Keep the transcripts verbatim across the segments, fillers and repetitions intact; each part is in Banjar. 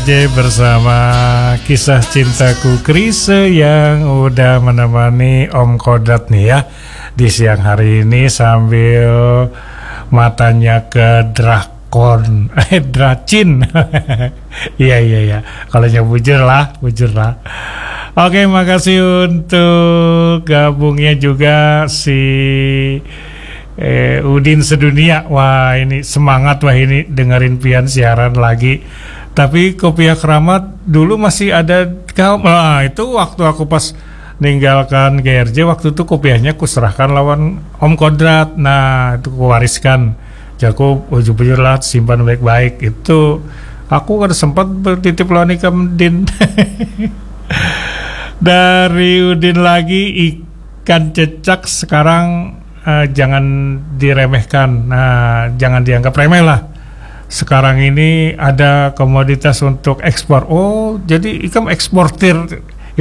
Oke, bersama kisah cintaku Krisye yang udah menemani Om Kodrat nih ya di siang hari ini sambil matanya ke drakon, eh, dracin. Iya, iya, iya. Kalau yang bujur lah, bujur lah. Oke, makasih untuk gabungnya juga si eh, Udin Sedunia. Wah, ini semangat wah ini dengerin pian siaran lagi. Tapi kopiah keramat dulu masih ada kau. Nah, itu waktu aku pas ninggalkan G R J, waktu itu kopiahnya kuserahkan lawan Om Kodrat. Nah, itu kuwariskan. Jaku bujur-bujur lah, simpan baik-baik. Itu aku kada sempat bertitip lawan ikam, Din. Dari Udin lagi, ikan cecak sekarang, eh, jangan diremehkan. Nah, jangan dianggap remeh lah. Sekarang ini ada komoditas untuk ekspor. Oh, jadi ikam eksportir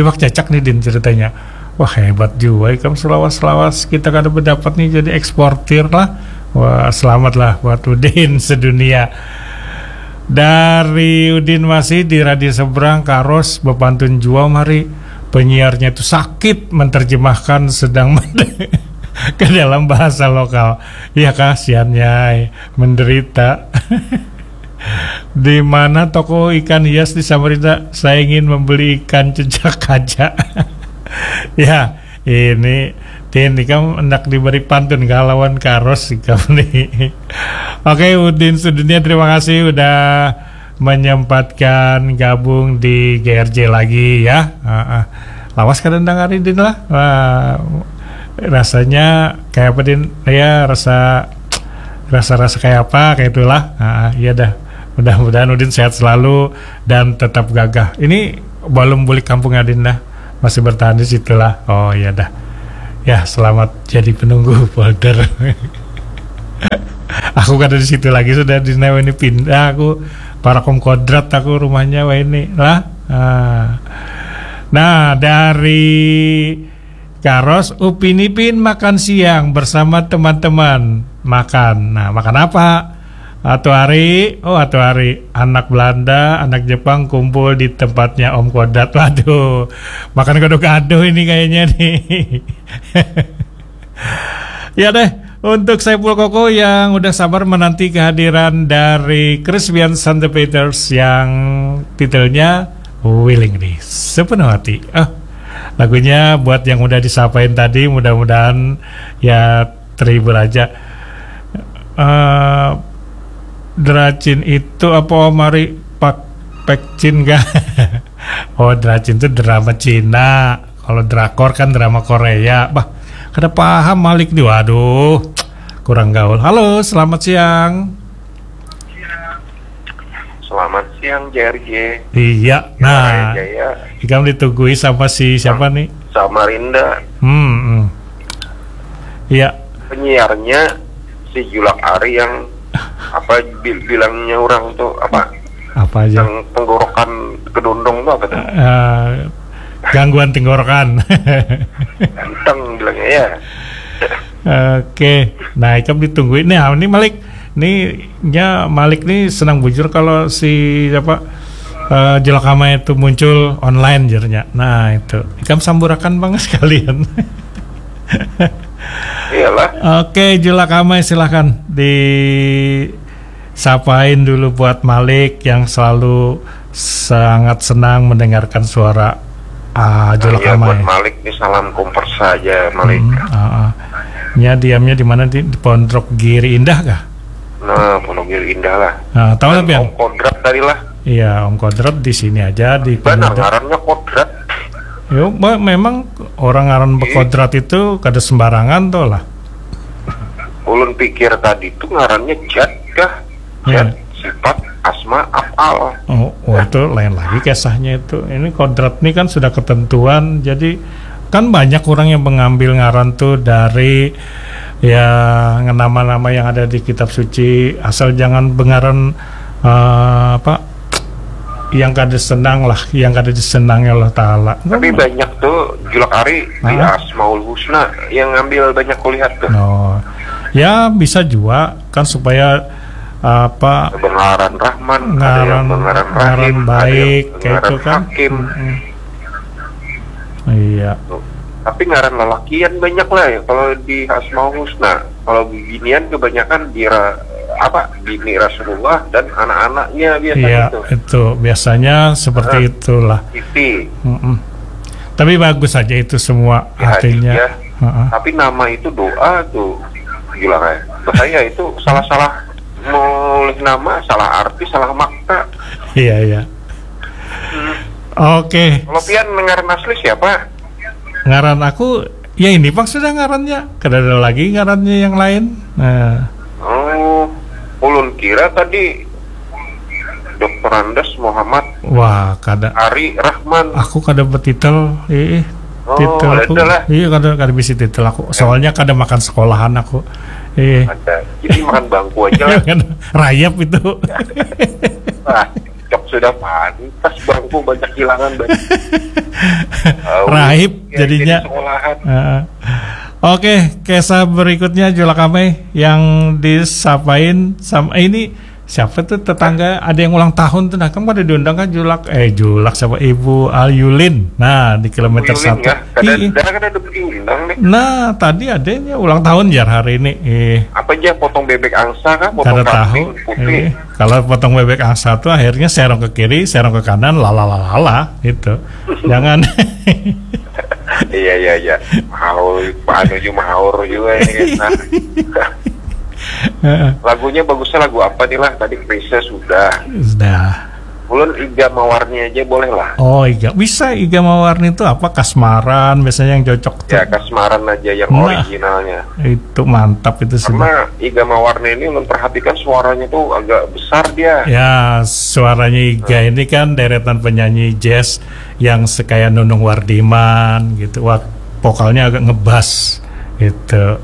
iwak cecak nih, Din, ceritanya. Wah, hebat juga ikam, selawas-selawas kita kada berdapat nih, jadi eksportir lah. Wah, selamat lah buat Udin sedunia. Dari Udin masih di radio seberang, Karos bepantun jua mari. Penyiarnya itu sakit menterjemahkan sedang ke dalam bahasa lokal. Iya kah, siannya menderita. Di mana toko ikan hias di Samarinda? Saya ingin membeli ikan cecak kaca. Ya, ini Tin, ikam hendak diberi pantun kah lawan Karos ikam nih. Oke, Udin sedunia, terima kasih udah menyempatkan gabung di G R J lagi ya. Heeh. Lawas kada dengari Din lah. Wah, rasanya kayak apa, Din? Ya, rasa rasa-rasa kayak apa, kayak itulah. Heeh, iya dah. Mudah-mudahan Udin sehat selalu dan tetap gagah. Ini belum bulik kampung, Adin, dah. Masih bertahan di situ lah. Oh, iya dah. Ya, selamat jadi penunggu folder. Aku kada di situ lagi sudah, di Neo ini pindah aku. Parakom Kodrat aku rumahnya wah ini lah. Nah. Nah, dari Karos, Upin Ipin makan siang bersama teman-teman. Makan. Nah, makan apa? Atu Ari, oh, Atu Ari, anak Belanda, anak Jepang kumpul di tempatnya Om Kodrat. Waduh, makan gado-gado ini kayaknya nih. Ya deh, untuk Saiful Koko yang udah sabar menanti kehadiran dari Crispian Santo Peters yang titelnya Willingly, sepenuh hati. Ah, lagunya buat yang udah disapain tadi, mudah-mudahan ya terhibur aja. Eh, Dracin itu apa, Om Ari, pak pekcin kah? Oh, Dracin itu drama Cina. Kalau drakor kan drama Korea. Bah, kada paham Malik nih. Waduh, kurang gaul. Halo, selamat siang. Selamat siang, J R J. Iya, nah, Jaya. Ikam ditunggui sama si siapa nih? Samarinda. Hmm, hmm. Iya. Penyiarnya si Julak Ari yang apa bil- bilangnya orang tuh apa? Apa aja? Yang tenggorokan kedondong tuh apa tuh? Eh, gangguan tenggorokan. Ganteng bilangnya ya. Oke, nah, ikam ditungguin. Nah, ini Malik, nih, nya Malik nih senang bujur kalau si apa, eh, Julak Amai itu muncul online, jernya. Nah, itu ikam samburakan bang sekalian. Iyalah. Oke, Julak Amai, silahkan disapain dulu buat Malik yang selalu sangat senang mendengarkan suara, ah, Julak Amai. Buat Malik nih, salam kompersa aja, Malik. Hmm, ah, ah. Nya diamnya di mana, di, di Pondok Giri Indah kah? Nah, Pondok Giri Indah lah. Nah, tahu tapi Om Kodrat tadi lah. Iya, Om Kodrat di sini aja di Pondok. Ngarannya Kodrat. Yo, memang orang ngaran bekodrat itu kada sembarangan tuh lah. Ulun pikir tadi tuh ngarannya Jat kah? Jat, sifat, asma, afal. Oh, oh, itu lain lagi kisahnya itu. Ini kodrat ini kan sudah ketentuan, jadi kan banyak orang yang mengambil ngaran tuh dari ya nama-nama yang ada di kitab suci, asal jangan bengaran, eh, apa, yang kada senang lah, yang kada disenangi Allah Taala. Tapi banyak tuh Julak Ari di Asmaul Husna yang ngambil banyak kulihat tuh. Oh, ya bisa juga kan supaya apa, ada yang ngaran Rahman, ada yang ngaran ngaran Rahim, ada yang baik, kayak ngaran itu kan. Hakim. Mm-mm. Iya. Tuh. Tapi ngaran lalakian banyak lah ya kalau di Asmaul Husna. Kalau bibinian kebanyakan di ra-, apa, bini Rasulullah dan anak-anaknya biasa. Iya, gitu. Itu biasanya seperti, heeh, itulah. Siti. Mm-mm. Tapi bagus saja itu semua. Ya, artinya. Ya. Heeh. Tapi nama itu doa tuh, Julak, ya. Bahaya itu, salah-salah mulih nama, salah arti, salah makna. Iya, iya. Hmm. Oke. Kalau pian ngaran asli siapa? Ngaran aku, ya ini pang sudah ngarannya. Kada ada lagi ngarannya yang lain. Nah. Oh, ulun kira tadi Doktor Andes Muhammad. Wah, kada. Ari Rahman. Aku kada betitel, eh, eh. Oh, titel aku. Ada lah. Iya, kada, kada bisi titel aku. Ya. Soalnya kada makan sekolahan aku. Eh. Ada. Jadi makan bangku aja lah. Rayap itu. Wah, cok sudah pantas bangku banyak hilangan banyak. Tahu. Raib ya, jadinya. Jadi sekolahan. Heeh. Oke, kisah berikutnya Julak Amai yang disapain sama, eh, ini siapa tuh tetangga, ada yang ulang tahun tuh, nah, kan pada diundang kan Julak, eh, Julak siapa, Ibu Ayulin, nah, di kilometer satu. Ibu Yulin, ya? Kada, ih, ih, dah, kada ada diundang nih. Nah, tadi adanya ulang tahun jar hari ini. Eh. Apa aja, potong bebek angsa kah? Potong, kada tahu. Kambing putih? Eh, kalau potong bebek angsa tuh akhirnya serong ke kiri, serong ke kanan, lalalalala gitu. Jangan. Iya, iya, iya. Mahaur, anu juga, mahaur juga ini kan. Nah. Heeh. Lagunya bagusnya lagu apa nih lah? Tadi Chrisye sudah. Sudah. Ulun Iga Mawarni aja boleh lah. Oh, Iga. Bisa Iga Mawarni itu apa? Kasmaran biasanya yang cocok tuh. Ya, Kasmaran aja yang, nah, originalnya. Itu mantap itu sudah. Karena Iga Mawarni ini ulun perhatikan suaranya tuh agak besar dia. Ya, suaranya Iga, hmm, ini kan deretan penyanyi jazz yang sekaya Nunung Wardiman gitu. Wah, vokalnya agak ngebas gitu.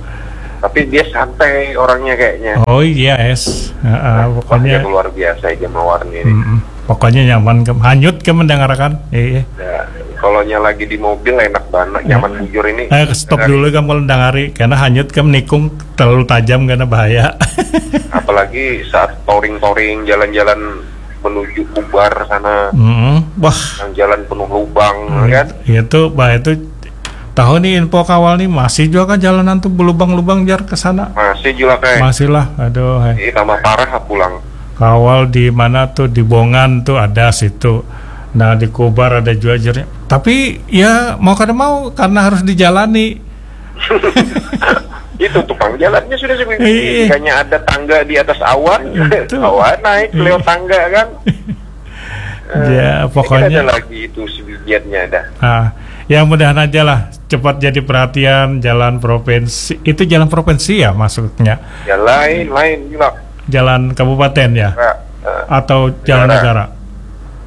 Tapi dia santai orangnya kayaknya. Oh iya, es. Heeh, nah, pokoknya wah, dia luar biasa Iga Mawarni ini. Mm-mm. Pokoknya nyaman ke, hanyut ke mendengarkan. Iya. Ya, kalau nya lagi di mobil enak banget, ya, nyaman bujur ini. Eh, stop dulu kamu dengari, karena hanyut ke menikung terlalu tajam, karena bahaya. Apalagi saat touring-touring, jalan-jalan menuju Kubar sana. Mm-mm. Wah. Yang jalan penuh lubang, hmm, kan? Iya tuh, bah, itu tahu nih info kawal nih, masih juga kan jalanan tuh belubang-lubang jar ke sana. Masih juga, kayak. Masih lah, aduh, hai. Ih, tambah parah pulang. Kawal di mana tuh, di Bongan tuh ada situ. Nah, di Kubar ada juga jernya. Tapi ya mau kada mau karena harus dijalani. Itu tukang jalannya sudah seperti, iya, hanya ada tangga di atas awan. Itu. Awan naik, iya, lewat tangga kan. Eh, ya, pokoknya ada lagi itu sebijiannya dah. Ah, ya mudahan aja lah cepat jadi perhatian jalan provinsi. Itu jalan provinsi ya maksudnya? Ya lain, lain juga. Jalan kabupaten ya? Negara, eh, atau jalan negara? Negara.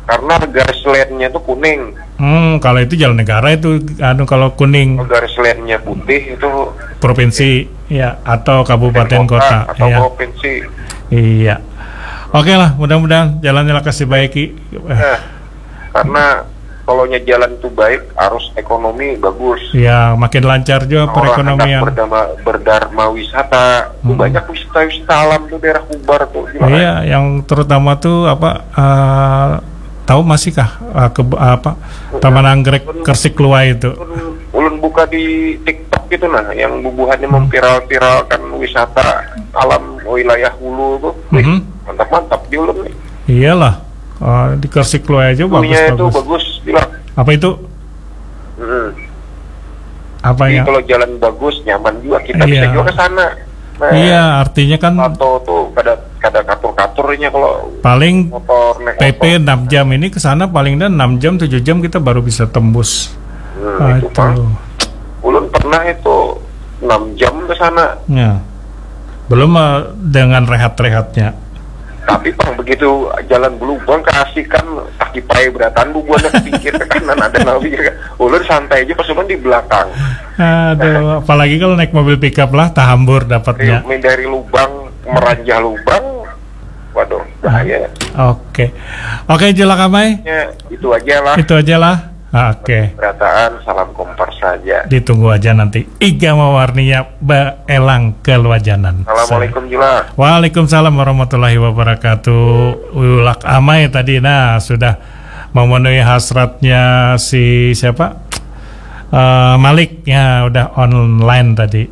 Karena garis lainnya tuh kuning. Hmm, kalau itu jalan negara itu, anu, kalau kuning. Kalau garis lainnya putih itu provinsi, ya, atau kabupaten kota, kota, atau ya, provinsi. Iya. Oke lah, mudah-mudahan jalannya lah kasih baiki. Eh, karena kalau nya jalan tuh baik, arus ekonomi bagus. Ya, makin lancar juga perekonomian. Orang hendak berdama-, berdarma wisata. Tuh, mm-mm, banyak wisata-wisata alam tuh daerah Kubar tuh, gimana? Iya, yang terutama tuh apa, eh, tahu masih kah, eh, ke, apa, mm-mm, Taman Anggrek Kersik Luai itu? Ulun, ulun buka di TikTok gitu nah, yang bubuhannya, hmm, memviral-viralkan wisata alam wilayah hulu tuh. Wih, mm-hmm, mantap-mantap di ulun nih. Iyalah. Eh, di Kersik Luai aja bagus, view-nya itu bagus, bagus, bilang. Apa itu? Mm-mm. Apa ya? Jadi kalau jalan bagus, nyaman juga, kita bisa, iya, juga ke sana. Nah, iya, artinya kan motor tuh kada, kada katur-katurnya kalau paling motor, naik P P motor enam jam ini ke sana paling dah enam jam, tujuh jam kita baru bisa tembus. Hmm, ah, itu, itu, Bang. Ulun pernah itu enam jam ke sana. Ya. Belum, eh, dengan rehat-rehatnya. Tapi pang begitu jalan belubang keasikan, kaki pai berataan bubuhannya ke pinggir, ke kanan ada nawi kan. Ulun santai aja pas ulun di belakang. Aduh, apalagi kalau naik mobil pickup lah, tahambur dapatnya. Dari, dari lubang, meranjah lubang, waduh, bahaya. Oke. Oke, Julak Amai. Ya, itu aja lah. Itu aja lah. Ah, oke. Berataan, salam Kompas. saja. Ditunggu aja nanti Iga Mawarninya beelang ke Luajanan. Assalamualaikum, Julak. Waalaikumsalam warahmatullahi wabarakatuh. Julak Amai tadi, nah, sudah memenuhi hasratnya si siapa? Eh, Malik, ya, udah online tadi.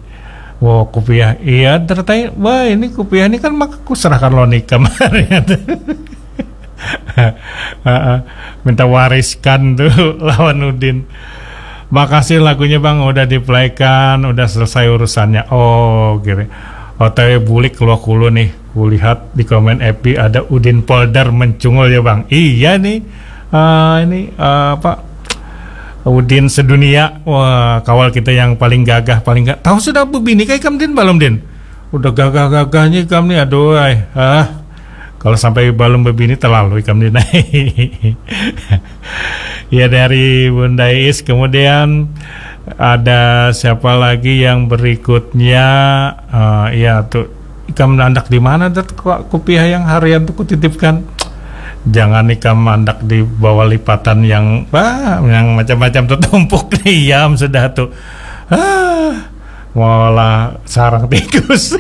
Wow, kupiah. Iya, ternyata, wah, ini kupiah ini kan maka kuserahkan lo nikah kemarin. Heeh. Minta wariskan tuh lawan Udin. Makasih lagunya, Bang, udah diplaykan, udah selesai urusannya. Oh, gini. O T W bulik keluar kulu nih. Kulihat di komen F B ada Udin Polder mencungul ya, Bang. Iya nih. Ah, ini, ah, apa? Udin sedunia. Wah, kawal kita yang paling gagah, paling gak tahu sudah bebini kayak Kam, Din, belum, Din? Udah gagah-gagahnya Kam nih, aduh, ay. Ah, kalau sampai belum bebini, terlalu Kam, Din. Ya, dari Bunda Is. Kemudian ada siapa lagi yang berikutnya? Eh, ya, tuh, Ikam andak di mana, Dat? Kok kupiah yang harian tuh kutitipkan? Jangan Ikam andak di bawah lipatan yang, wah, yang macam-macam tuh tumpuk. Iam sudah tuh. Ah, molah sarang tikus.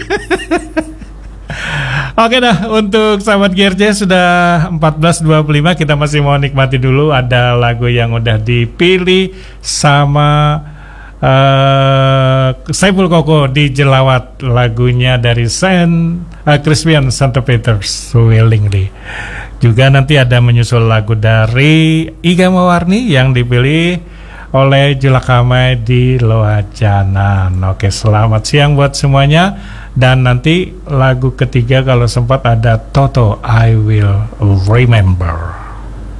Oke dah, untuk sahabat G R C, sudah empat belas dua puluh lima, kita masih mau nikmati dulu. Ada lagu yang udah dipilih sama eh, Saiful Koko di Jelawat, lagunya dari Saint, eh, Crispian Saint Peter's Willingly. Juga nanti ada menyusul lagu dari Iga Mawarni yang dipilih oleh Julak Amai di Loajanan. Oke, selamat siang buat semuanya. Dan nanti lagu ketiga, kalau sempat, ada Toto, I Will Remember.